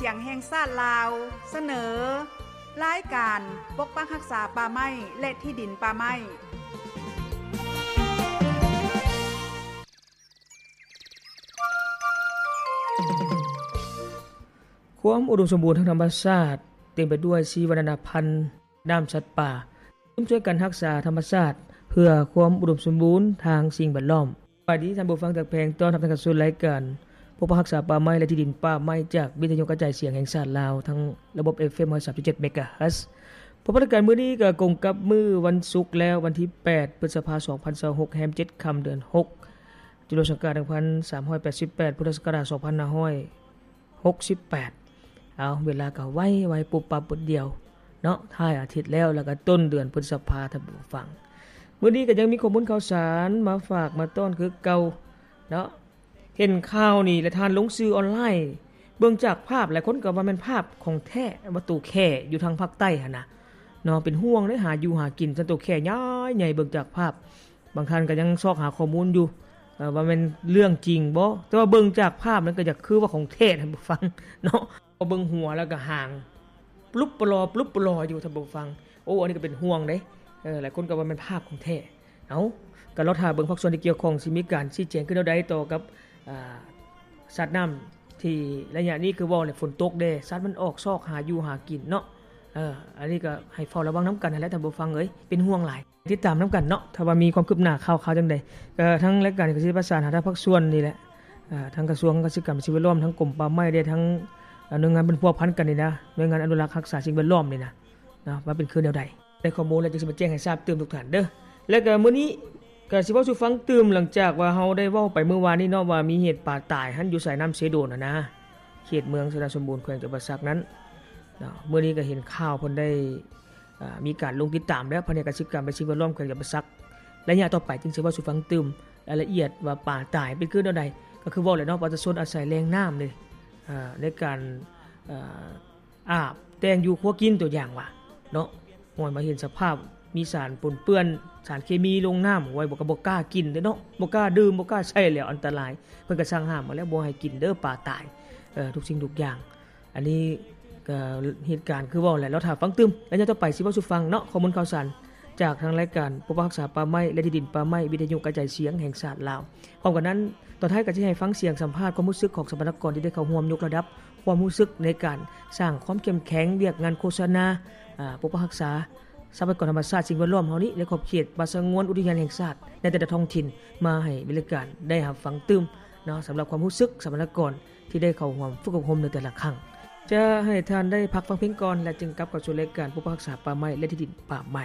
ສຽງແຫ່ງຊາດລາວ ສະເໜີ ລາຍການປົກປັກຮັກສາປ່າໄມ້ ແລະ ທີ່ດິນປ່າໄມ້. ຄວາມອຸດົມສົມບູນທາງທຳມະຊາດ ເຕັມໄປດ້ວຍຊີວະນານາພັນ ນ້ຳສັດປ່າ ຮ່ວມຊ່ວຍກັນຮັກສາທຳມະຊາດ ເພື່ອຄວາມອຸດົມສົມບູນທາງສິ່ງແວດລ້ອມ. ສະບາຍດີທ່ານຜູ້ຟັງທີ່ຮັກແພງ, ຕ້ອນຮັບທ່ານເຂົ້າສູ່ລາຍການປົກປັກຮັກສາປ່າໄມ້ ແລະ ທີ່ດິນປ່າໄມ້ ຈາກວິທະຍຸກະຈາຍສຽງແຫ່ງຊາດລາວ ທາງລະບົບ ເອັຟເອັມ ຮ້ອຍສາມຈຸດເຈັດ ເມກາເຮີດ. ພົບກັນມື້ນີ້ກໍກົງກັບມື້ວັນສຸກແລ້ວ, ວັນທີແປດ ພຶດສະພາ ສອງພັນຊາວຫົກ ແຮມເຈັດຄ່ຳເດືອນຫົກ ຈຸລະສັກກາດ ໜຶ່ງພັນສາມຮ້ອຍແປດສິບແປດ ພຸດທະສັກກະລາດ ສອງພັນຫ້າຮ້ອຍຫົກສິບແປດ. ເອົາ ເວລາກໍໄວໆ ປຸບປັບປຶດດຽວເນາະ, ທ້າຍອາທິດແລ້ວ ແລ້ວກໍຕົ້ນເດືອນພຶດສະພາ ທ່ານຜູ້ຟັງ. ມື້ນີ້ກໍຍັງມີຂໍ້ມູນຂ່າວສານມາຝາກມາຕ້ອນຄືເກົ່າເນາະ. ເຫັນຂ່າວນີ້ແລ້ວ ທ່ານລົງສື່ອອນລາຍ ເບິ່ງຈາກພາບ ຫຼາຍຄົນກໍວ່າແມ່ນພາບຂອງແທ້ ວ່າໂຕແຂ້ຢູ່ທາງພາກໃຕ້ຫັ້ນນະເນາະ. ເປັນຫ່ວງເດ້ ຫາຢູ່ຫາກິນ ຊັ້ນໂຕແຂ້ໃຫຍ່ໆ ເບິ່ງຈາກພາບ. ບາງທ່ານກໍຍັງຊອກຫາຂໍ້ມູນຢູ່ ເອີ ວ່າແມ່ນເລື່ອງຈິງບໍ່, ແຕ່ວ່າເບິ່ງຈາກພາບນັ້ນກໍຢາກຄືວ່າຂອງແທ້ ທ່ານຜູ້ຟັງເນາະ. ພໍເບິ່ງຫົວແລ້ວກໍຫາງປລຸບປະຫຼໍ ປລຸບປະຫຼໍຢູ່ ທ່ານຜູ້ຟັງ. ໂອ້ ອັນນີ້ກໍເປັນຫ່ວງເດ້, ເອີ ຫຼາຍຄົນກໍວ່າແມ່ນພາບຂອງແທ້. ເອົາ ກໍລໍຖ້າເບິ່ງພາກສ່ວນທີ່ກ່ຽວຂ້ອງ ຊິມີການຊີ້ແຈງຄືແນວໃດຕໍ່ກັບ ອາ ສັດນ້ຳ ທີ່ໄລຍະນີ້ຄືເວົ້າແຫຼະ ຝົນຕົກເດ້ ສັດມັນອອກຊອກຫາຢູ່ຫາກິນເນາະ. ເອີ ອັນນີ້ກໍໃຫ້ເຝົ້າລະວັງນຳກັນຫັ້ນແຫຼະ ທ່ານຜູ້ຟັງເອີຍ, ເປັນຫ່ວງຫຼາຍ. ຕິດຕາມນຳກັນເນາະ ຖ້າວ່າມີຄວາມຄືບໜ້າຂ່າວໆຈັ່ງໃດ ກໍທາງລາຍການນີ້ກໍຊິໄດ້ປະສານຫາທາງພາກສ່ວນນີ້ແຫຼະ ອາ ທາງກະຊວງກະສິກຳ ແລະ ສິ່ງແວດລ້ອມ, ທາງກົມປ່າໄມ້ເດ້, ທາງ ອາ ໜ່ວຍງານເພິ່ນພົວພັນກັນນີ້ນະ, ໜ່ວຍງານອະນຸລັກຮັກສາສິ່ງແວດລ້ອມນີ້ນະ ເນາະ ວ່າເປັນຄືແນວໃດ. ໄດ້ຂໍ້ມູນແລ້ວ ຈຶ່ງຊິມາແຈ້ງໃຫ້ຊາບຕື່ມທຸກທ່ານເດີ. ແລ້ວກໍມື້ນີ້ກໍຊິເວົ້າສູ່ຟັງຕື່ມ ຫຼັງຈາກວ່າເຮົາໄດ້ເວົ້າໄປມື້ວານນີ້ເນາະ ວ່າມີເຫດປາຕາຍຫັ້ນ ຢູ່ສາຍນ້ຳເຊໂດນຫັ້ນນະ, ເຂດເມືອງຊະນະສົມບູນ ແຂວງຈຳປາສັກນັ້ນເນາະ. ມື້ນີ້ກໍເຫັນຂ່າວເພິ່ນໄດ້ ອາ ມີການລົງຕິດຕາມແລ້ວ ພະແນກກະສິກຳ ແລະ ສິ່ງແວດລ້ອມ ແຂວງຈຳປາສັກ. ໄລຍະຕໍ່ໄປຈຶ່ງຊິເວົ້າສູ່ຟັງຕື່ມລາຍລະອຽດວ່າປາຕາຍເປັນຄືແນວໃດ. ກໍຄືເວົ້າແຫຼະເນາະ ປະຊາຊົນອາໄສແຫຼ່ງນ້ຳເດ້ ອາ ໃນການ ອາ ອາບແຕ່ງຢູ່ຄົວກິນ ຕົວຢ່າງວ່າເນາະ, ຮອດມາເຫັນສະພາບມີສານປົນເປື້ອນ ສານເຄມີລົງນ້ຳ ໂອ້ຍ ບໍ່ ກໍບໍ່ກ້າກິນເດ້ເນາະ, ບໍ່ກ້າດື່ມ ບໍ່ກ້າໃຊ້ແລ້ວ ອັນຕະລາຍ. ເພິ່ນກໍສັ່ງຫ້າມມາແລ້ວ ບໍ່ໃຫ້ກິນເດີ ປາຕາຍ ເອີ ທຸກສິ່ງທຸກຢ່າງ. ອັນນີ້ກໍເຫດການຄືເວົ້າແຫຼະ ລໍຖ້າຟັງຕື່ມ. ໄລຍະຕໍ່ໄປຊິເວົ້າສູ່ຟັງເນາະ ຂໍ້ມູນຂ່າວສານຈາກທາງລາຍການປົກປັກຮັກສາປ່າໄມ້ ແລະ ທີ່ດິນປ່າໄມ້ ວິທະຍຸກະຈາຍສຽງແຫ່ງຊາດລາວ. ພ້ອມກັນນັ້ນ ຕອນທ້າຍກໍຊິໃຫ້ຟັງສຽງສຳພາດຄວາມຮູ້ສຶກຂອງສຳມະນາກອນທີ່ໄດ້ເຂົ້າຮ່ວມຍົກລະດັບຄວາມຮູ້ສຶກໃນການສ້າງຄວາມເຂັ້ມແຂງວຽກງານໂຄສະນາ ອາ ປົກປັກຮັກສາ ຊັບພະຍາກອນທຳມະຊາດ ສິ່ງແວດລ້ອມເຮົານີ້ ໃນຂອບເຂດປ່າສະຫງວນ ອຸທິຍານແຫ່ງຊາດ ໃນແຕ່ລະທ້ອງຖິ່ນ ມາໃຫ້ບໍລິການໄດ້ຮັບຟັງຕື່ມເນາະ, ສຳລັບຄວາມຮູ້ສຶກສຳມະນາກອນທີ່ໄດ້ເຂົ້າຮ່ວມຝຶກອົບຮົມໃນແຕ່ລະຄັ້ງ. ຈະໃຫ້ທ່ານໄດ້ພັກຟັງເພງກ່ອນ ແລະ ຈຶ່ງກັບເຂົ້າສູ່ລາຍການປົກປັກຮັກສາປ່າໄມ້ ແລະ ທີ່ດິນປ່າໄມ້.